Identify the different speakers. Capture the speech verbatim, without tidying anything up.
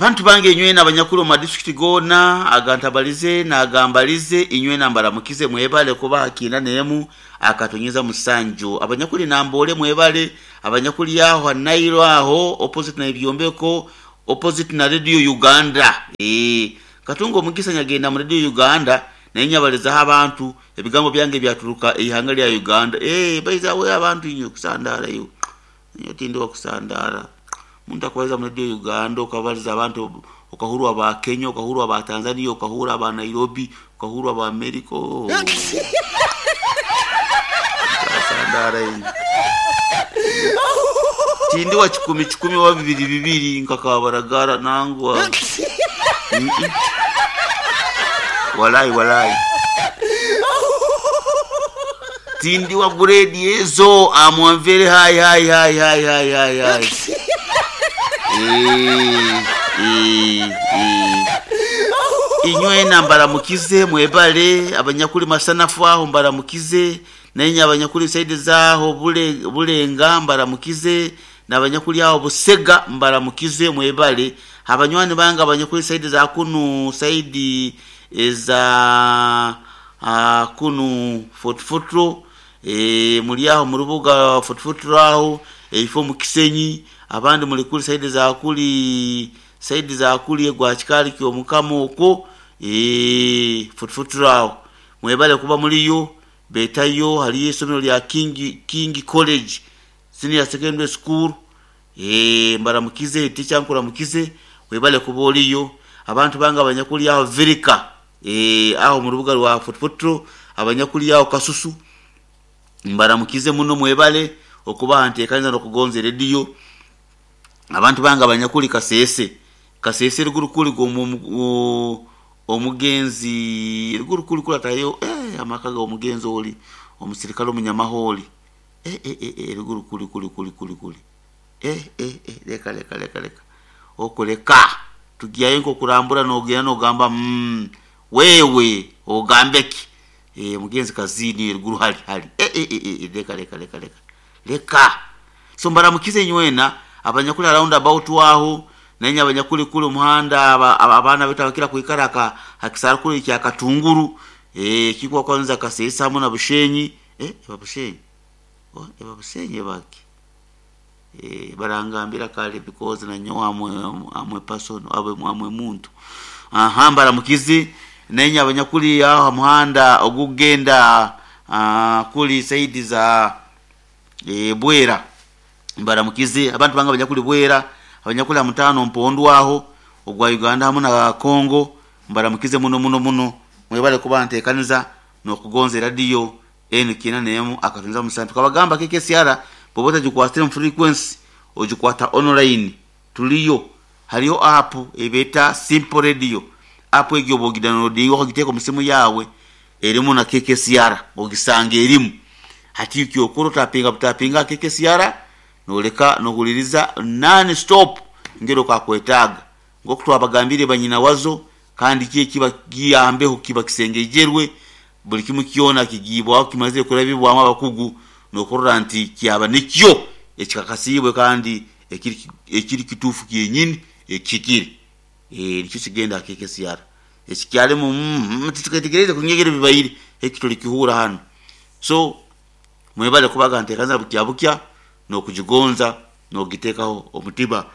Speaker 1: Abantu bange inywena abanyakuli omu madisitulikiti goona agantabalize nagambalize, inywena mbaramukize, mwebale kuba hakiina n'emu akatonyeza musanju. Abanyakuli Namboole mwebale, abanyakuli aho ha Nailo aho opposite na Ebyombeko, opposite na Radio Uganda. Eeh, katunga omugisa nyagenda mu Radio Uganda naye nyabalizaho abantu ebigambo byange byaturuka eihanga lya Uganda. Eeh, baiza we abantu inywe kusandara iwe. Nyowe tindi wa kusandara. Omuntu akubaliza mu Radio Uganda okabaliza abantu, okahurwa aba Kenya, okahurwa aba Tanzania, okahurwa aba Nairobi, okahurwa aba America. Oh. Sandara inywe. Tindi wa kikumi kikumi wa bibiri bibiri nkakabaragara nangwa. Mm-mm. Walai walai. Tindi wa grade ezo amwamvere hai hai hai hai hai hai hai. Eh, eh, eh. Inywena mbaramukize mwebale, abanyakuli masanafu aho mbaramukize, naye abanyakuli saidi zaho bule bulenga mbaramukize, n'abanyakuli aho busega mbaramukize mwebale. Abanywani bange abanyakuli saidi za kunu saidi eza uh, kunu Fort Portal, e, muli aho mu rubuga Fort Portal aho eifo mu Kisenyi, abandi muli kuli saidi za kuli saidi za kuli egwa kikali kyo mukama okwo, e, Fort Portal aho mwebale kuba muliyo. Betayo haliyo isomero lya King, King College Senior Secondary School, e, mbaramukize teacher nkuramukize webale kuba oliyo. Abantu bange abanyakuli aho Virika, e, aho mu rubuga rwa Fort Portal, abanyakuli aho Kasusu mbaramukize muno mwebale okuba nteekaniza n'okugonza radio. Abantu bange abanyakuli Kasese, Kasese ruguru kuli omugenzi ruguru kuli kulatayo, eh, amaka ga omugenzi oli omusirikale omunyamaholi, eh, eh, eh, eh, ruguru kuli kuli kuli kuli kuli, eh, eh, eh, leka leka leka leka okuleka tugiyayo nkokurambura nogenda nogamba mm, wewe ogambeki, eh, mugenzi kazini ruguru hali hali, eh, eh, eh, eh, leka leka leka leka leka. So mbaramukize nywena abanyakuli round about aho nenya abanyakuli kuli muhanda abaana betu abakira kuikara ka hakisara kuli kya Katunguru, eh, kikwa kwanza Kasesa hamwe na Bushenyi, eh, eba Bushenyi, oh, eba Bushenyi baki, eh, barangambira kale because na nyowe amwe amwe person abe amwe muntu. Aha, mbaramukize nenya abanyakuli aho muhanda ogugenda uh, kuli saidi za e, Bwera mbaramukize. Abantu banga abanyakuli Bwera, abanyakuli mutano mpondu aho ogwa Uganda hamwe na Congo mbaramukize muno muno muno mwebale kuba nteekaniza n'okugonza radio enu kina nemu akatunza musantu kabagamba K K S R bw'oba otagikwatire mu frequency ogikwata online tuliyo. Hariyo app ebeta Simple Radio, app egyo bw'ogidownloadinga okagiteeka mu simu yawe erimu na K K S R ogisanga erimu. Hati kyokora otapinga butapinga K K S R noleka nohuliriza non stop ngero kakwetaaga ngoku twabagambire banyina wazo, kandi kiye kiba giyambeho kiba kisengejerwe buli kimu kyona kigibwaho kimaze kurabibwamu abakugu nokurora nti kyaba nikyo ekikakasibwe kandi ekiri, ekiri kituufu kyenyini ekikiri, eh, nikyo kigenda K K S R ekikyalimu mm, tutegereze kunyegera bibayire eki tulikihura hano. So mwebale kubaga ntekanza bukya bukya nokugigonza nogitekaho omutima.